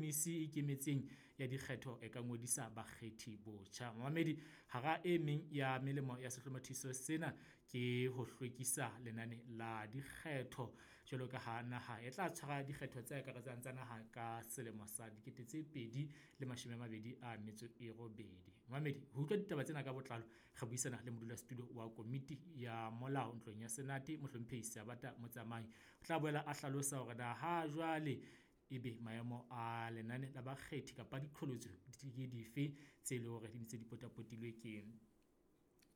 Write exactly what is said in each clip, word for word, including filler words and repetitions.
Komisi e Ikemetseng ya Dikgetho e ka ngodisa bakgethi botjha. Momamedi, hara e meng ya melemo ya sehlomathiso sena ke ho hlwekisa lenane la dikgetho jwalo ka ha naha e tla tshwara dikgetho tse akaretsang tsa naha ka selemo sa dikete tse pedi le mashome a mabedi a metso e robedi. Momamedi, ho utlwa ditaba tsena ka botlalo, re buisana le modulasetulo wa komiti ya molao ntlong ya Senate, Mohlomphehi Seabata Motsamai. O tla boela a hlalosa hore na ha jwale ebe maemo a lenane la bakgethi kapa diqholotso ke dife tse leng hore di ntse di potapotilwe ke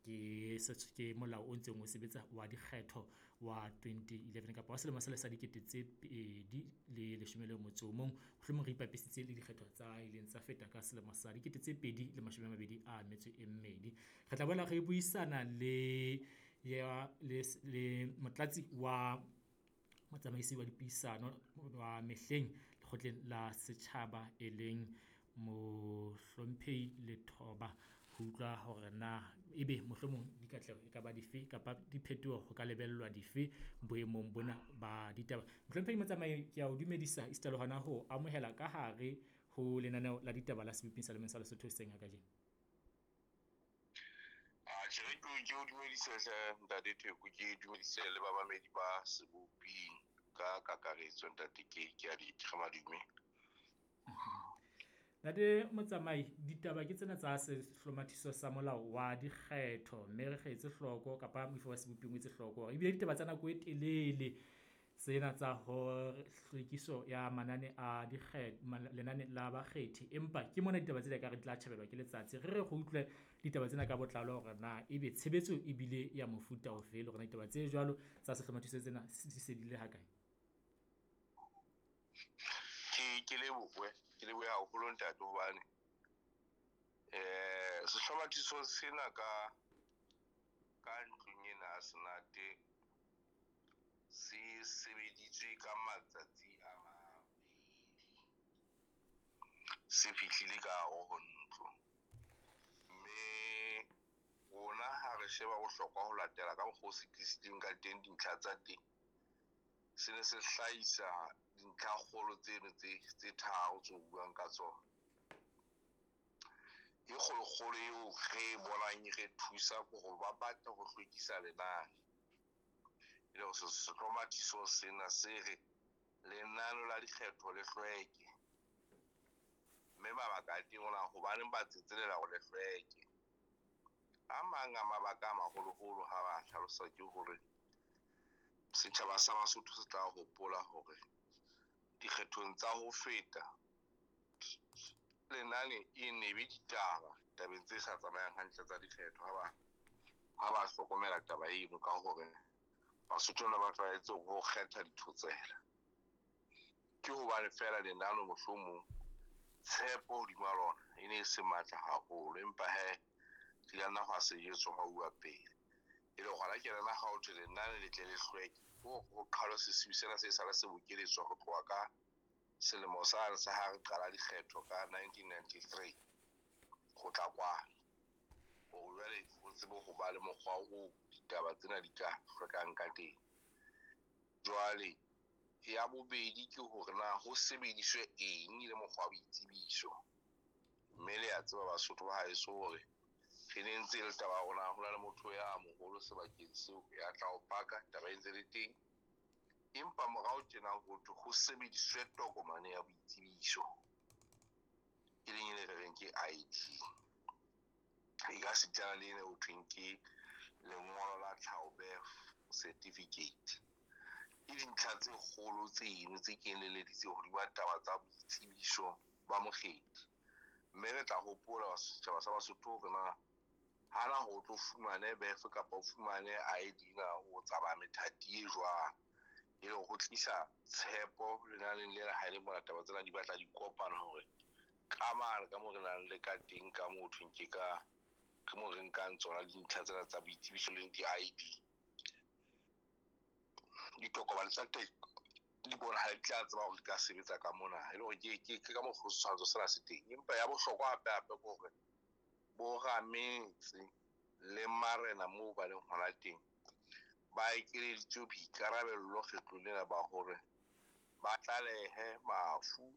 ke ke molao o ntseng o sebetsa wa dikgetho wa twenty eleven kapa wa selemo sena sa dikete tse pedi le leshome le motso o mong. Mohlomong re ipapisitse le dikgetho tsa ileng tsa feta ka selemo sa dikete tse pedi le mashome a mabedi a metso e mmedi. Re tla boela re buisana le ya le le motlatsi wa motsamaisi wa dipuisano wa mehleng lekgotleng la setjhaba, e leng Mohlomphehi Lethoba, ho utlwa hore na ebe mohlomong dikatleho e kaba dife kapa diphetoho ho ka lebellwa dife boemong bona ba ditaba. Mohlomphehi Motsamai, ke a o dumedisa e sita le hona ho amohela ka hare ho lenaneo la ditaba la sebopeng sa sa Lesotho hoseng ha kajeno. Atjhe, ke ke o dumedise hle ntate Theko, ke dumedise le bamamedi ba seboping ka kakaretso ntate ke ke a di madume. Ntate Motsamai, ditaba ke tsena tsa sehlomathiso sa molao wa dikgetho mme re etse hloko kapa moifo wa seboping o etse hloko hore ebile ditaba tsa nako e telele tsena tsa hore hlwekiso ya manane a lenane la bakgethi. Empa ke mona ditaba tsena ekare di tla tjhabelwa ke letsatsi. Re re re utlwe ditaba tsena ka botlalo hore na ebe tshebetso ebile ya mofuta ofe le hore na ditaba tse jwalo tsa sehlomathiso tsena di se di le ha kae? Ke ke lebohe, ke lebohe haholo ntate hobane eh sehlomathiso sena ka ka ntlong ena ya Senate se sebeditswe ka matsatsi a mabedi, se fihlile ka hare ho ntlo. Mme rona ha re sheba bohlokwa ho latela ka mokgwa o se tlisitseng ka teng dintlha tsa teng, se ne se hlahisa dintlha kgolo tseno tse tse tharo tse o buang ka tsona. E kgolokgolo eo re bonang e re thusa ke hore ba batla ho hlwekisa lenane. E le hore sehlomathiso sena se re lenane la dikgetho le hlweke. Mme mabaka a teng ona hobaneng ba tsetselela hore le hlweke. A mang a mabaka a maholoholo ha ba hlalosa ke hore setjhaba sa Basotho se tla hopola hore dikgethong tsa ho feta lenane e ne be ditaba tabeng tse sa tsamayang hantle tsa dikgetho ha ba ha ba hlokomela taba eno ka hore Basotho ne ba tlwaetse ho kgetha dithotsela. Ke hobane feela lenane mohlomong tshepo hodima lona e ne e se matla haholo, empa he re ka nna hwa sejetswa ha uwa pele. E le hona ke rena ha ho thwe lenane le tle le hlweke, ho ho qhalwe sesiu sena se sale se bokeletswa ho tloha ka selemo sane sa ha re qala dikgetho ka nineteen ninety-three ho tla kwana. Hore jwale ho tsebe ho ba le mokgwa o ditaba tsena di ka hlwekang ka teng. Jwale ya bobedi ke hore na ho sebediswe eng le mokgwa wa boitsebiso. Mme le a tseba Basotho ba haeso hore re ne ntse le taba ya rona, ho na le motho ya moholo sebakeng seo ya tla o paka taba e ntse le teng. Empa morao tjena ho thwe ho sebediswe tokomane ya boitsebiso, e leng e re reng ke I D. E ka sitana le ena ho thweng ke lengolo la tlhaho birth certificate. Ke dintlha tse kgolo tseno tse kenyeleditse hodima taba tsa boitsebiso ba mokgethi. Mme re tla hopola setjhaba sa Basotho hore na hana ho tlo fumane birth kapa o fumane I D na o tsamaya methati e jwang. E le ho tlisa tshepo lenaneng lena ha e le mona taba tsena di batla di kopana hore ka mane ka moo re nang le ka teng ka moo thweng ke ka ke moo re nkang tsona dintlha tsena tsa boitsebiso le di-I D. Ditokomane tsa teng di bonahala di tla tseba hore di ka sebetsa ka mona, e le hore ke, ke, ke ka mokgwa o setshwantsho sena se teng. Empa ya bohlokwa hape hape ke hore bo rametse le marena moo ba leng hona teng ba ekeleditswe boikarabello kgetlong lena ba hore ba tlalehe mafu